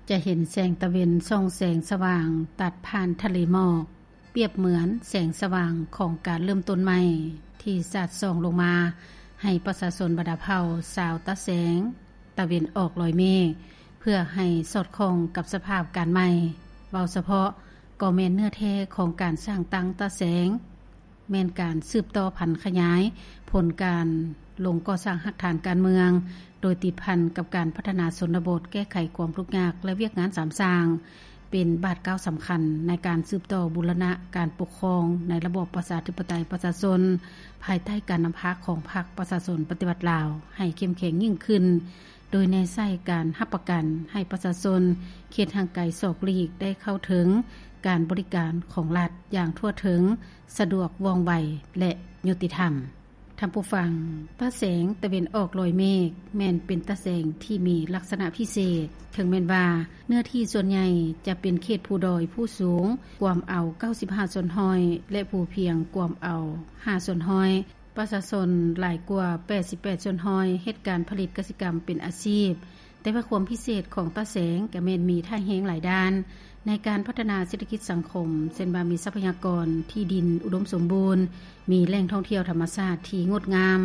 ຈະເຫັນແສງຕາເວັນສ່ອງແສງສະຫວ່າງຕັດຜ່ານທະເລໝອກ, ປຽບເໝືອນແສງສະຫວ່າງຂອງການເລີ່ມຕົ້ນໃໝ່ ທີ່ສາດສ່ອງລົງມາໃຫ້ປະຊາຊົນບັນດາເຜົ່າຊາວຕາແສງ ຕາເວັນອອກລອຍເມກ ເພື່ອໃຫ້ສອດຄ່ອງກັບສະພາບການໃໝ່. ເວົ້າສະເພາະກໍແມ່ນເນື້ອແທ້ຂອງການສ້າງຕັ້ງຕາແສງ ແມ່ນການສືບຕໍ່ຜັນຂະຫຍາຍຜົນການລົງກໍ່ສ້າງຮາກຖານການເມືອງ ໂດຍຕິດພັນກັບການພັດທະນາຊົນນະບົດ, ແກ້ໄຂຄວາມທຸກຍາກ ແລະ ວຽກງານສາມສ້າງ ເປັນບາດກ້າວສຳຄັນໃນການສືບຕໍ່ບູລະນະການປົກຄອງໃນລະບອບປະຊາທິປະໄຕປະຊາຊົນ ພາຍໃຕ້ການນຳພາຂອງພັກປະຊາຊົນປະຕິວັດລາວ ໃຫ້ເຂັ້ມແຂງຍິ່ງຂຶ້ນ, ໂດຍແນໃສ່ການຮັບປະກັນໃຫ້ປະຊາຊົນເຂດຫ່າງໄກສອກຫຼີກໄດ້ເຂົ້າເຖິງການບໍລິການຂອງລັດຢ່າງທົ່ວເຖິງ, ສະດວກ, ວ່ອງໄວ ແລະ ຍຸຕິທຳ. ທ່ານຜູ້ຟັງ, ຕາແສງຕາເວັນອອກລອຍເມກ ແມ່ນເປັນຕາແສງທີ່ມີລັກສະນະພິເສດ, ເຖິງແມ່ນວ່າເນື້ອທີ່ສ່ວນໃຫຍ່ຈະເປັນເຂດພູດອຍ, ພູສູງກວມເອົາເກົ້າສິບຫ້າສ່ວນຮ້ອຍ ແລະ ພູພຽງກວມເອົາຫ້າສ່ວນຮ້ອຍ, ປະຊາຊົນຫຼາຍກວ່າແປດສິບແປດສ່ວນຮ້ອຍເຮັດການຜະລິດກະສິກຳເປັນອາຊີບ. ແຕ່ວ່າຄວາມພິເສດຂອງຕາແສງກະແມ່ນມີທ່າແຮງຫຼາຍດ້ານໃນການພັດທະນາເສດຖະກິດສັງຄົມ, ເຊັ່ນວ່າມີຊັບພະຍາກອນທີ່ດິນອຸດົມສົມບູນ, ມີແຫຼ່ງທ່ອງທ່ຽວທຳມະຊາດທີ່ງົດງາມ,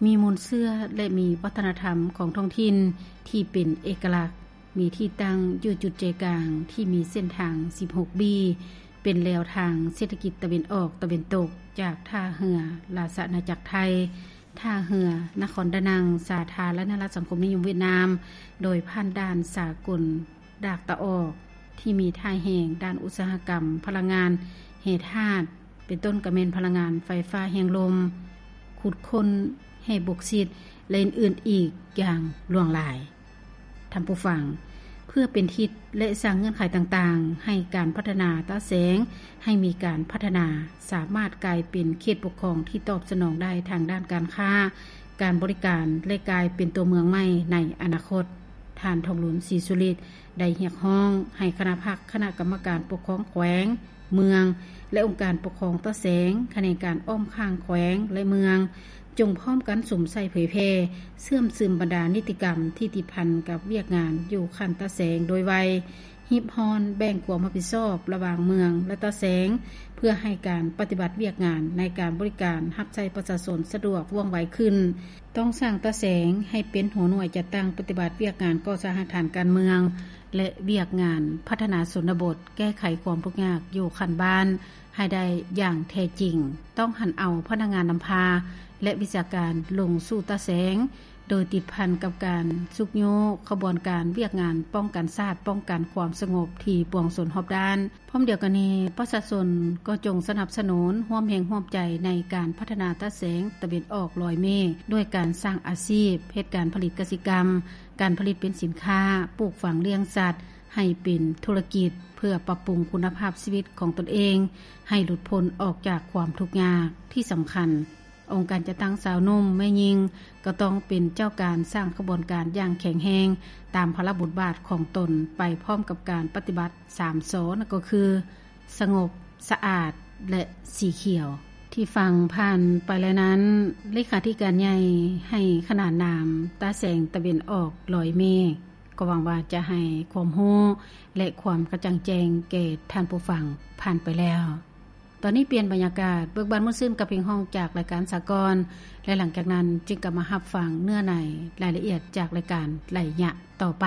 ມີມູນເຊື້ອ ແລະ ມີວັດທະນະທຳຂອງທ້ອງຖິ່ນທີ່ເປັນເອກະລັກ, ມີທີ່ຕັ້ງຢູ່ຈຸດໃຈກາງທີ່ມີເສັ້ນທາງສິບຫົກບີ, ເປັນແລວທາງເສດຖະກິດຕາເວັນອອກຕາເວັນຕົກ ຈາກທ່າເຮືອລາຊະອານາຈັກໄທ, ທ່າເຮືອນະຄອນດານັງ ສາທາລະນະລັດສັງຄົມນິຍົມຫວຽດນາມ, ໂດຍຜ່ານດ່ານສາກົນດາກຕາອອກ ທີ່ມີທ່າແຮງດ້ານອຸດສາຫະກຳພະລັງງານແຮ່ທາດ ເປັນຕົ້ນກະແມ່ນພະລັງງານໄຟຟ້າແຮງລົມ, ຂຸດຄົ້ນແຮ່ບົກຊິດ ແລະ ອື່ນໆອີກຢ່າງຫຼວງຫຼາຍ. ທ່ານຜູ້ຟັງ, ເພື່ອເປັນທິດ ແລະ ສ້າງເງື່ອນໄຂຕ່າງໆ ໃຫ້ການພັດທະນາຕາແສງ ໃຫ້ມີການພັດທະນາ ສາມາດກາຍເປັນເຂດປົກຄອງທີ່ຕອບສະໜອງໄດ້ທາງດ້ານການຄ້າ, ການບໍລິການ ແລະ ກາຍເປັນຕົວເມືອງໃໝ່ໃນອະນາຄົດ, ທ່ານ ທອງລຸນ ສີສຸລິດ ໄດ້ຮຽກຮ້ອງໃຫ້ຄະນະພັກ, ຄະນະກຳມະການປົກຄອງແຂວງ, ເມືອງ ແລະ ອົງການປົກຄອງຕາແສງ, ຂະແໜງການອ້ອມຂ້າງແຂວງ ແລະ ເມືອງ, ຈົ່ງພ້ອມກັນສຸມໃສ່ເຜີຍແຜ່, ເຊື່ອມຊຶມບັນດານິຕິກຳທີ່ຕິດພັນກັບວຽກງານຢູ່ຂັ້ນຕາແສງໂດຍໄວ, ຮີບຮ້ອນແບ່ງຄວາມຮັບຜິດຊອບລະຫວ່າງເມືອງ ແລະ ຕາແສງ ເພື່ອໃຫ້ການປະຕິບັດວຽກງານໃນການບໍລິການຮັບໃຊ້ປະຊາຊົນສະດວກ, ວ່ອງໄວຂຶ້ນ. ຕ້ອງສ້າງຕາແສງໃຫ້ເປັນຫົວໜ່ວຍຈັດຕັ້ງປະຕິບັດວຽກງານກໍ່ສ້າງຮາກຖານການເມືອງ ແລະ ວຽກງານພັດທະນາຊົນນະບົດ, ແກ້ໄຂຄວາມທຸກຍາກຢູ່ຂັ້ນບ້ານໃຫ້ໄດ້ຢ່າງແທ້ຈິງ. ຕ້ອງຫັນເອົາພະນັກງານນຳພາ ແລະ ວິຊາການລົງສູ່ຕາແສງ, ໂດຍຕິດພັນກັບການຊຸກຍູ້ຂະບວນການວຽກງານປ້ອງກັນຊາດ, ປ້ອງກັນຄວາມສະຫງົບທີ່ປວງຊົນຮອບດ້ານ. ພ້ອມດຽວກັນນີ້, ປະຊາຊົນກໍຈົ່ງສະໜັບສະໜູນ, ຮ່ວມແຮງຮ່ວມໃຈໃນການພັດທະນາຕາແສງຕາເວັນອອກລອຍເມກ ດ້ວຍການສ້າງອາຊີບ, ເຮັດການຜະລິດກະສິກຳ, ການຜະລິດເປັນສິນຄ້າ, ປູກຝັງລ້ຽງສັດໃຫ້ເປັນທຸລະກິດ ເພື່ອປັບປຸງຄຸນນະພາບຊີວິດຂອງຕົນເອງ ໃຫ້ຫຼຸດພົ້ນອອກຈາກຄວາມທຸກຍາກ. ທີ່ສຳຄັນ, ອົງການຈັດຕັ້ງຊາວໜຸ່ມ, ແມ່ຍິງ ກໍຕ້ອງເປັນເຈົ້າການສ້າງຂະບວນການຢ່າງແຂງແຮງ ຕາມພາລະບົດບາດຂອງຕົນ ໄປພ້ອມກັບການປະຕິບັດສາມ ສ ນັ້ນກໍຄື ສະຫງົບ, ສະອາດ ແລະ ສີຂຽວ. ທີ່ຟັງຜ່ານໄປແລ້ວນັ້ນ, ເລຂາທິການໃຫຍ່ໃຫ້ຂະໜານນາມຕາແສງຕາເວັນອອກລອຍເມກ, ກໍຫວັງວ່າຈະໃຫ້ຄວາມຮູ້ ແລະ ຄວາມກະຈ່າງແຈ້ງແກ່ທ່ານຜູ້ຟັງຜ່ານໄປແລ້ວ. ຕອນນີ້ປ່ຽນບັນຍາກາດ, ເບີກບານມ່ວນຊື່ນກັບເພງຮ້ອງຈາກລາຍການສາກອນ ແລະ ຫຼັງຈາກນັ້ນຈຶ່ງກັບມາຮັບຟັງເນື້ອໃນລາຍລະອຽດຈາກລາຍການໄລຍະຕໍ່ໄປ.